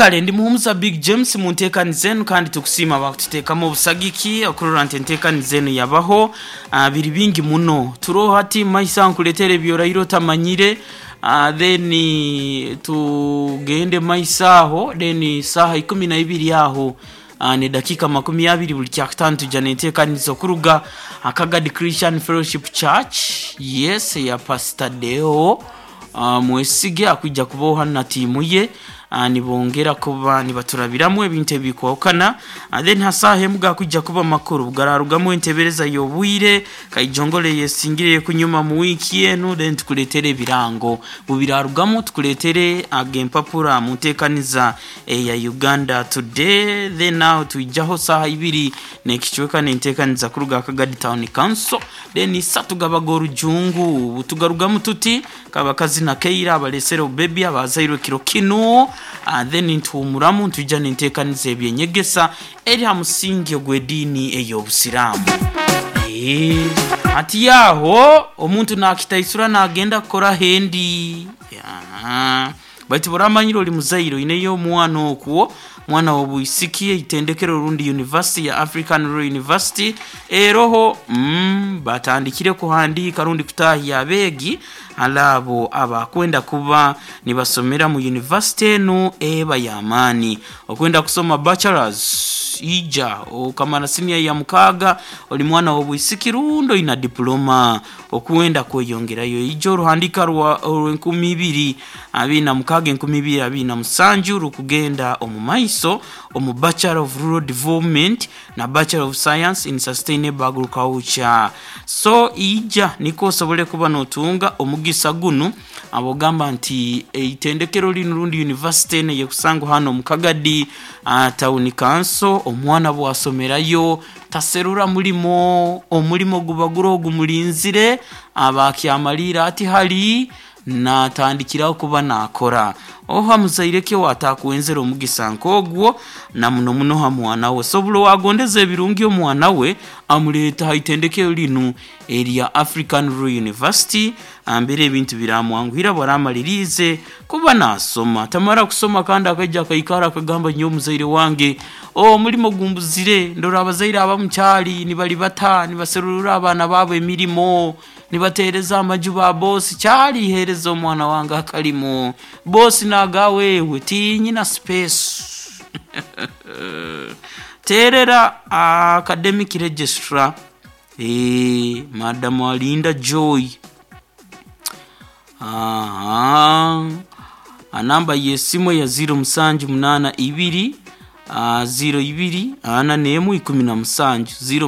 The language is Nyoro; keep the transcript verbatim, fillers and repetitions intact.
Kale ndi Muhumuza Big James mu nteekaniza enu, kandi tukusiima bakututeekamu obusagiki okurora nti enteekaniza enu yabaho. uh, biri bingi muno turoho hati maisa nkuleetera ebyoraire otamanyire. uh, then tugende maisa aho, then saaha ikumi na ibiri aho uh, ni dakika makumi abiri buli kyakutaano tujja nenteekaniza okuruga Akagadi Christian Fellowship Church, yes, ya Pastor Deo uh, Mwesige akwijja kubaho hanu na tiimu ye, uh, nibongera kuba nibaturabiramu ebintu ebikwahukana. uh, then hasaha emu gakwijja kuba makuru gararugamu entebereza y'obwire kaijongole yesingire kunyuma mu wiiki enu, then tukuletere ebirango bubirarugamu, tukuletere ag'empapura mu nteekaniza eya Uganda Today. Then aho twijaho saaha ibiri n'ekicweka n'enteekaniza kuruga Akagadi Town Council, then isatu gabaga orujungu tugarugamu tuti kabakazina keira abalesere obubebi abazairwe kiro kinu. uh, then ntuhumuramu ntwija n'enteekaniza ebyenyegesa eri ha musingi ogw'ediini ey'obusiraamu. Eh, ati yaho omuntu nakitaisura nagenda kukora hendi. Ya. Baitu buramanyire oli muzaire oineyo omwana okwo, mwana w'obwisiki, eitendekero rundi university ya African Rural University eroho, mm, batandikire kuhandiika rundi kutahya abeegi alabo abakwenda kuba nibasomera mu university enu eba y'amaani. Okwenda kusoma bachelors, ija okamara senior ya mukaaga, oli mwana w'obwisiki rundi oina diploma okwenda kweyongerayo, ija oruhandika rwa orw'enkumi ibiri abiri na mukaaga enkumi ibiri abiri na musanju rukugenda omu maiso omu Bachelor of Rural Development na Bachelor of Science in Sustainable Agriculture. So ija niko osobole kuba notunga omugisa gunu abogamba nti eitendekero linu rundi university eno yekusangwa hano omu Kagadi uh, Town Council. Omwana bwasomerayo taserura mulimo, omulimo guba guri gumulinzire abakyamalira ati hali natandikiraho kuba nakora. Oha muzaire ke watakuwenzera omugisa nk'ogwo, na muno muno ha mwana we. So buli wagondeza ebirungi omwana we amuleeta ha itendekero linu erya African Rural University, ambere ebintu biramwanguhira bwaramalirize kuba nasoma. Tamara kusoma kandi akaija akaikara akagamba, nyowe omuzaire wange omulimo gumbuzire. Ndora abazaire abamukyali nibali bata nibaserurura abaana baabo emirimo, nibateereza amaju ba bosi, kyalihereza omwana wange akalimo, bosi nagawewe tinyina space. Terera academic registrar, eh, Madam Alinda Joy. Aha, anamba y'esimu ya ziro musanju munana ibiri ziro ibiri ana n'emu ikumi na musanju ziro.